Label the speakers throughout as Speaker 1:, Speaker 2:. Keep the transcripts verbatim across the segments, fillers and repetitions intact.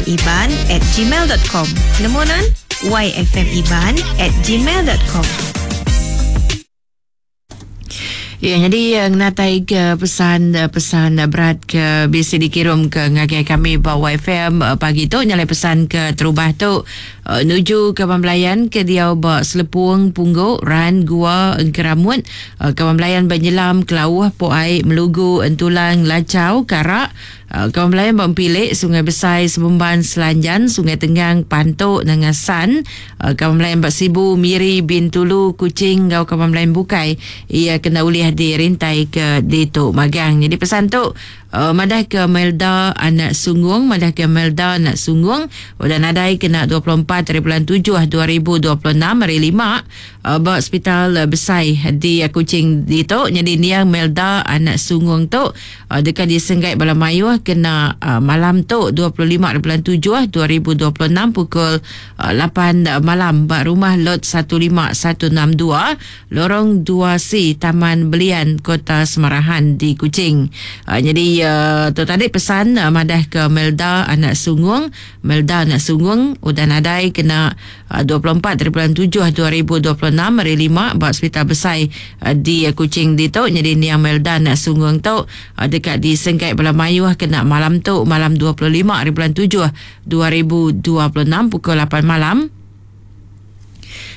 Speaker 1: yfmiban at gmail dot com. Nemu nan? yfmiban at gmail dot com.
Speaker 2: Ya, jadi ngenatai ke pesan-pesan berat ke bisa dikirim ke ngagai kami ba Y F M pagi tu nyalai pesan ke terubah tu nuju ke pembelayan ke dia ba Selepung Pungguk Ran Gua Engkeramut, ke pembelayan ba Nyelam Kelauh Poai Melugu Entulang Lacau Karak, ke pembelayan ba Empilik Sungai Besai Sebemban Selanjan Sungai Tenggang Pantuk Nangasan, ke pembelayan ba Sibu Miri Bintulu Kuching ngau ke pembelayan bukai ia kena ulih dirintai ke ditu magang. Jadi pesan tu uh, madah ke Melda anak Sungung, madah ke Melda anak Sungung udah nadai kena dua puluh empat hari bulan tujuh dua ribu dua puluh enam hari lima uh, ba hospital besai di Kuching ditu. Jadi niang Melda anak Sungung tu uh, dekat disenggai bala mayuh kena uh, malam tu dua puluh lima hari bulan tujuh dua ribu dua puluh enam pukul uh, lapan malam ba rumah lot satu lima satu enam dua Lorong dua C Taman Belian Kota Semarahan di Kuching. Uh, jadi uh, tu tadi pesan uh, madah ke Melda anak Sungung, Melda anak Sungung udah nadai kena uh, dua puluh empat hari bulan tujuh dua ribu dua puluh enam hari lima ba hospital besai uh, di uh, Kuching ditu. Jadi niang Melda anak Sungung tu uh, dekat di Sengkai Bala Mayuh kena malam tu malam dua puluh lima hari bulan tujuh dua ribu dua puluh enam pukul lapan malam.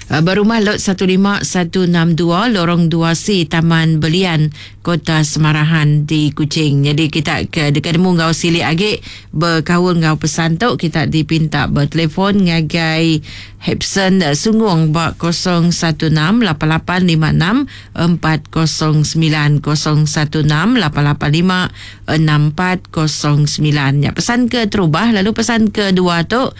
Speaker 2: Berumah lot satu lima satu enam dua Lorong dua C Taman Belian Kota Semarahan di Kuching. Jadi kita ke dekat demu ngau silik agi berkaul ngau pesan tu kita dipinta bertelefon ngagai Hepson Sungung ba kosong satu enam lapan lapan lima enam empat kosong sembilan kosong satu enam lapan lapan lima enam empat kosong sembilan. Ya, pesan ke terubah lalu pesan kedua tu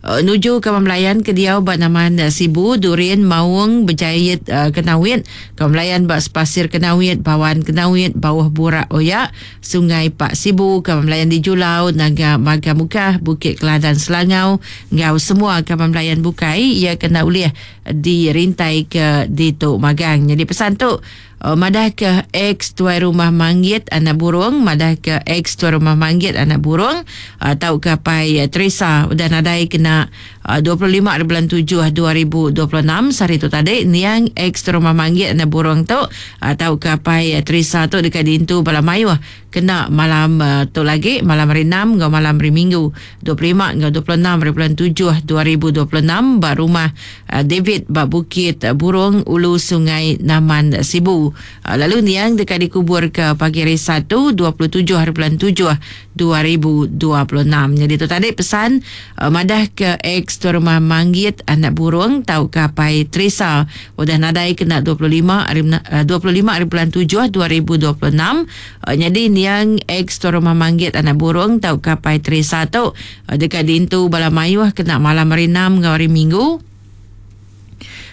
Speaker 2: Uh, nuju ke pembelayan ke diau ba naman uh, Sibu, Durian, Maung, Berjayit uh, Kenawit, ke pembelayan ba Sepasir Kenawit, Bawan Kenawit, Bawah Burak Oyak, Sungai Pak Sibu, ke pembelayan di Julau, Naga Maga Mukah, Bukit Keladan Selangau, ngau semua ke pembelayan bukai ia kena ulih dirintai ke Ditu Magang. Jadi pesan tu Uh, madah ke ex tuai rumah Manggit anak burung, madah ke ex tuai rumah Manggit anak burung atau uh, ke pai uh, Teresa udah nadai kena uh, dua puluh lima bulan tujuh dua ribu dua puluh enam sehari tu tadi niang ex tuai rumah Manggit anak burung tu atau uh, ke pai uh, Teresa tu dekat dintu bala mayuh kena malam uh, tu lagi malam hari enam ngau malam hari Minggu dua puluh lima ngau dua puluh enam bulan tujuh dua ribu dua puluh enam ba rumah uh, David ba Bukit Burung Ulu Sungai Naman Sibu. Lalu niang dekat dikubur ke pagi hari Sabtu dua puluh tujuh hari bulan tujuh dua ribu dua puluh enam. Jadi tu tadi pesan uh, madah ke ex tuan rumah Manggit anak burung tau ke pai Teresa udah nadai kena dua puluh lima hari uh, dua puluh lima hari bulan tujuh dua ribu dua puluh enam. Uh, jadi niang ex tuan rumah Manggit anak burung tau ke pai Teresa tu uh, dekat dintu bala mayuh kena malam hari enam ngau hari Minggu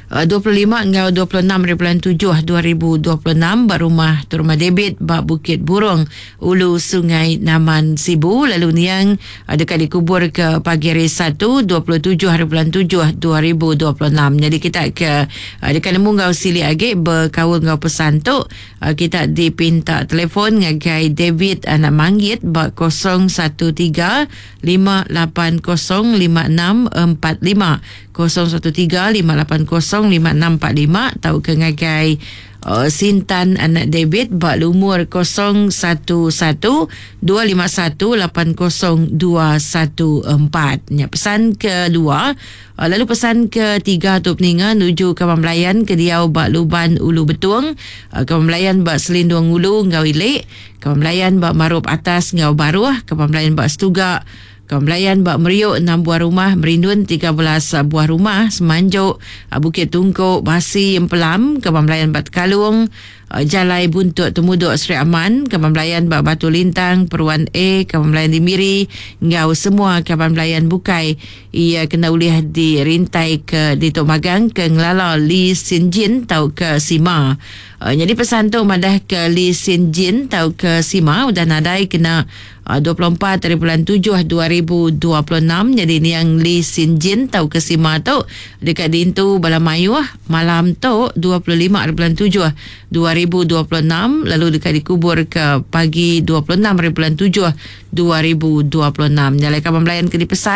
Speaker 2: dua puluh lima ngau dua puluh enam hari bulan tujuh dua ribu dua puluh enam ba rumah tu rumah David ba Bukit Burung Ulu Sungai Naman Sibu. Lalu niang dekat dikubur ke pagi hari Sabtu dua puluh tujuh hari bulan tujuh dua ribu dua puluh enam. Jadi kita ke dekat nemu ngau silik agi berkaul ngau pesan tu kita dipinta telefon ngagai David anak Manggit ba kosong satu tiga lima lapan kosong lima enam empat lima kosong satu tiga lima lapan kosong lima enam empat lima atau ke ngagai uh, Sintan anak David bak lumur kosong satu satu dua lima satu lapan kosong dua satu empat. Ya, pesan kedua. Lalu pesan ketiga tu peninga nuju ke pembelayan ke diau bak Luban Ulu Betung, ke pembelayan bak Selindung Ulu ngau Ilik, ke pembelayan bak Marup Atas ngau Baruh, ke pembelayan bak Setuga, Kembelayan bak Meriuk enam buah rumah, Merindun tiga belas buah rumah, Semanjuk, Bukit Tungkok, Basi, Empelam, Kembelayan bak Tekalung, Jalai Buntut Temuduk Seri Aman, Kembelayan bak Batu Lintang, Peruan A, Kembelayan di Miri, ngau semua kembelayan bukai ia kena ulih dirintai ke di Tok Magang ke ngelala Lee Sin Jin tau ke Sima. Uh, jadi pesan tu madah ke Lee Sin Jin tau ke Sima udah nadai kena uh, dua puluh empat hari bulan tujuh dua ribu dua puluh enam. Jadi ni yang Lee Sin Jin tau ke Sima tu dekat dintu Bala Mayuh malam tu dua puluh lima hari bulan tujuh dua ribu dua puluh enam, lalu dekat dikubur ke pagi dua puluh enam hari bulan tujuh dua ribu dua puluh enam. Nyalai kawan melayan ke dipesan